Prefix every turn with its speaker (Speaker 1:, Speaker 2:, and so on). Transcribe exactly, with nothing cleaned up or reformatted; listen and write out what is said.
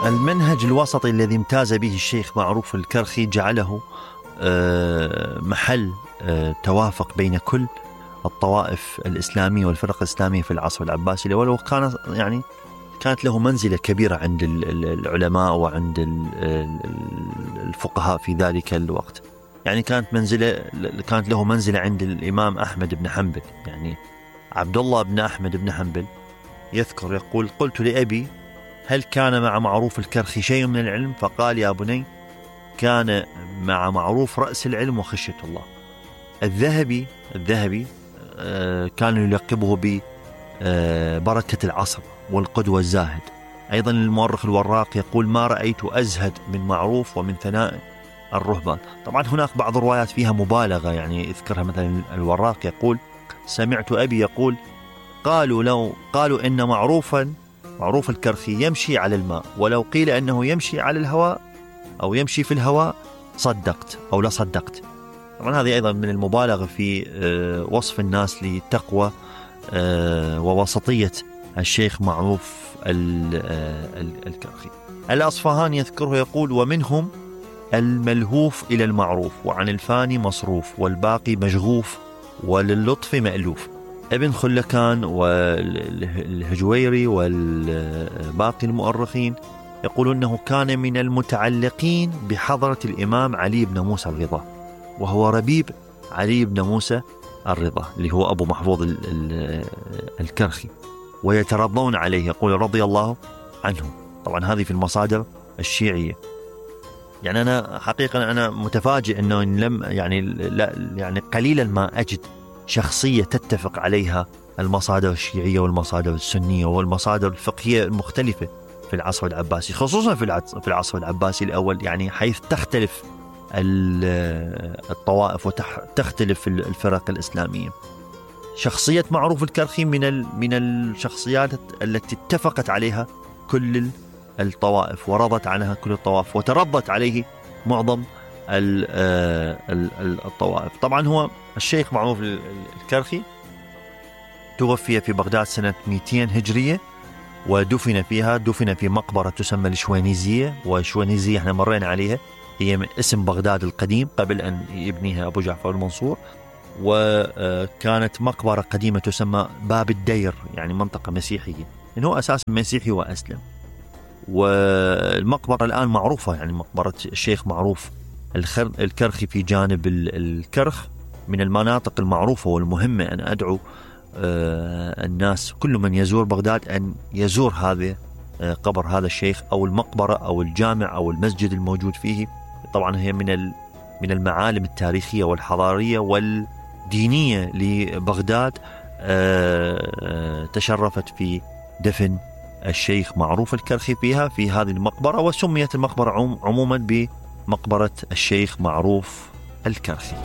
Speaker 1: المنهج الوسطي الذي امتاز به الشيخ معروف الكرخي جعله محل توافق بين كل الطوائف الإسلامية والفرق الإسلامية في العصر العباسي الأول، وكان يعني كانت له منزلة كبيرة عند العلماء وعند الفقهاء في ذلك الوقت. يعني كانت منزلة كانت له منزلة عند الإمام أحمد بن حنبل. يعني عبد الله بن أحمد بن حنبل يذكر يقول: قلت لأبي: هل كان مع معروف الكرخي شيء من العلم؟ فقال: يا بني، كان مع معروف رأس العلم وخشية الله. الذهبي الذهبي كان يلقبه ببركة العصر والقدوة الزاهد. أيضا المؤرخ الوراق يقول: ما رأيت أزهد من معروف ومن ثناء الرهبان. طبعا هناك بعض الروايات فيها مبالغة، يعني يذكرها مثلا الوراق يقول: سمعت أبي يقول: قالوا لو قالوا إن معروفا معروف الكرخي يمشي على الماء، ولو قيل أنه يمشي على الهواء أو يمشي في الهواء صدقت أو لا صدقت. طبعا هذه أيضا من المبالغة في وصف الناس لتقوى ووسطية الشيخ معروف الكرخي. الأصفهاني يذكره يقول: ومنهم الملهوف إلى المعروف، وعن الفاني مصروف، والباقي مشغوف، وللطف مألوف. ابن خلكان والهجويري والباقي المؤرخين يقولون أنه كان من المتعلقين بحضرة الإمام علي بن موسى الرضا، وهو ربيب علي بن موسى الرضا اللي هو أبو محفوظ الكرخي، ويترضون عليه، يقول رضي الله عنه. طبعا هذه في المصادر الشيعية. يعني أنا حقيقة أنا متفاجئ أنه لم يعني لا يعني قليلا ما أجد شخصية تتفق عليها المصادر الشيعية والمصادر السنية والمصادر الفقهية المختلفة في العصر العباسي، خصوصا في العصر العباسي الأول، يعني حيث تختلف الطوائف وتختلف الفرق الإسلامية. شخصية معروف الكرخي من من الشخصيات التي اتفقت عليها كل الطوائف ورضت عنها كل الطوائف وترضت عليه معظم الطوائف. طبعا هو الشيخ معروف الكرخي توفي في بغداد سنة مئتين هجرية، ودفن فيها دفن في مقبرة تسمى الشوينيزية، والشوينيزية احنا مرينا عليها، هي من اسم بغداد القديم قبل أن يبنيها أبو جعفر المنصور، وكانت مقبرة قديمة تسمى باب الدير، يعني منطقة مسيحية، إنه أساسا مسيحي وأسلم. والمقبرة الآن معروفة، يعني مقبرة الشيخ معروف الكرخي في جانب الكرخ من المناطق المعروفة والمهمة. أن أدعو الناس كل من يزور بغداد أن يزور هذا قبر هذا الشيخ أو المقبرة أو الجامع أو المسجد الموجود فيه. طبعا هي من من المعالم التاريخية والحضارية والدينية لبغداد، تشرفت في دفن الشيخ معروف الكرخي فيها في هذه المقبرة، وسميت المقبرة عموما بمقبرة الشيخ معروف الكرخي.